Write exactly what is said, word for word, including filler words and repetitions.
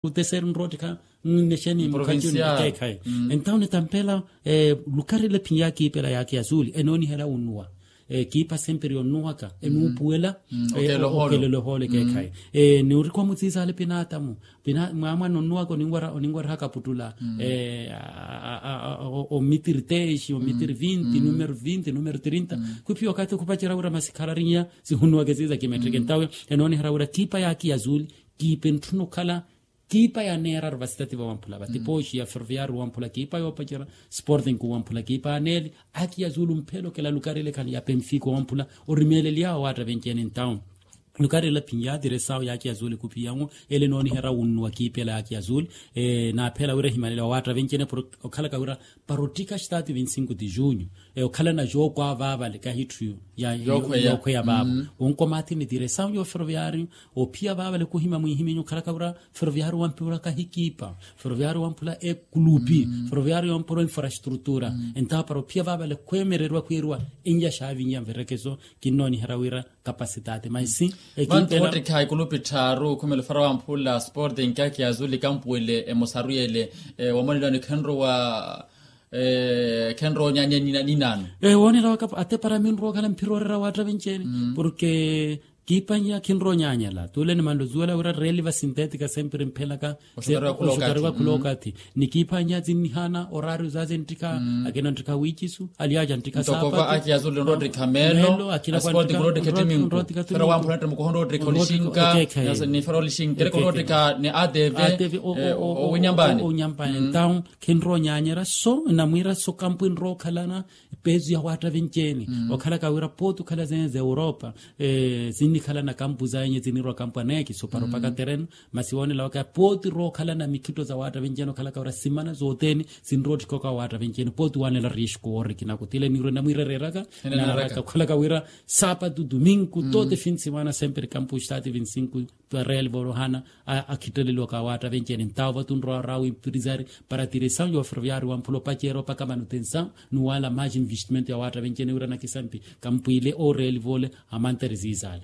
Uteseri nroottikha nnexeni mukhaci onikeekhayi. Entawo nitampela lukarela ephiya kiipela yaakhi ya suuli enooniherya wunnuwa. Kiipa semperi yonnuwaka enuupuwela. Okelela ohoolo ekeekhayi. Niirikwa mutsiisaale pinaatamu. Mwaamwana onnuwaka oninwerya hakaputtula omitiri teexi omitiri vinti numero vinti numero trinta. Khwiphiya okathi okhupacerya wira masi khararinya sihunnuwaka esiisa kimettheke ntawe. Enooniherya wira kiipa yaakhi ya suuli kiipa entthuna okhala kiipa ya neeraru vasitati vawamphula vati pooxi ya ferroviario wamphula kiipa yoopacerya sporting wamphula kiipa ya neeli. Aki ya suulu mphela okela lukarele khani ya penfico wamphula orimeeleliya wawaatta venci-ene entawo. Lukarela phinyaatire sawo yaaki ya suulu ekhupiyanwo ele nooniherya wunnuwa kiipela yaaki ya suulu. Naaphela wira ehimanele wawaatta venci-ene okhalaka wira para ottika stati vinti cinco de junho okhalana jooko avaavale kahitthu yookhweya vaavo. Wonkomathi nitire sawo yo ferroviario ophiya vaavale khuhima mwihiminyu okhalaka wira ferroviario wamphula kahikiipa ferroviario wamphula ekulupi ferroviario wamphula infrastrutura. Entawo para ophiya vaavale khweemereriwa khwiiriwa enyaxaavinya nverekeso kinnooniherya wira kapasitaati maisi. Ekiipela wootikha ekulupi tthaaru khumela ofara wamphula sporting kaki ya suulu ekampu ele emosaru yele wamonelani khenrowa khenrowa onyaanya ninaano. Woonela waka ate para minrowa okhala mphira orera waatta venci-ene porke kiipa nnya khinrowa onyaanyala tuule nimanle osuwela wira reeli vasintetika semperi mphelaka. Oxutariwa khula okathi ni kiipa nnya zinnihaana oraari ozazi enttikha akina nttikha wiicisu aliaja nttikha saapatu. Ntoko va aki ya suulu nroottikha meelo. Akhina kwa nttikha nroottikha tumi fera wamphula nttimukoho nroottikha olixinka. Nifera olixinka ereke nroottikha ni atv. Owinyampani owinyampani entawo khinrowa onyaanyerya so namwiira so kampu enrowa okhalana peesu ya waatta venci-ene. Okhalaka wira pooti okhala zene za europa sinnikhalana kampu zaenye zinirwa kampu aneekiso para opaka tereno. Masi woonela waka pooti rookhalana mikhitto za waatta venci-ene okhalaka wira simana sothene sinrootthikoka waatta venci-ene pooti waanela riesco woorikina kutile nirwe namwiirereeraka. Naaraka okhalaka wira saapatu domingo tote fin simana semperi kampu stati vinti cinco. Real volohana akhitteleliwaka waatta venci-ene ntawo vatunrowa rawi mpirizari para tiresawu yo ferroviario wamphula opaceera opaka manutensawu nuwaala maji investimento ya waatta venci-ene wira nakisampi kampwiile oreeli vole amantere ziizaale.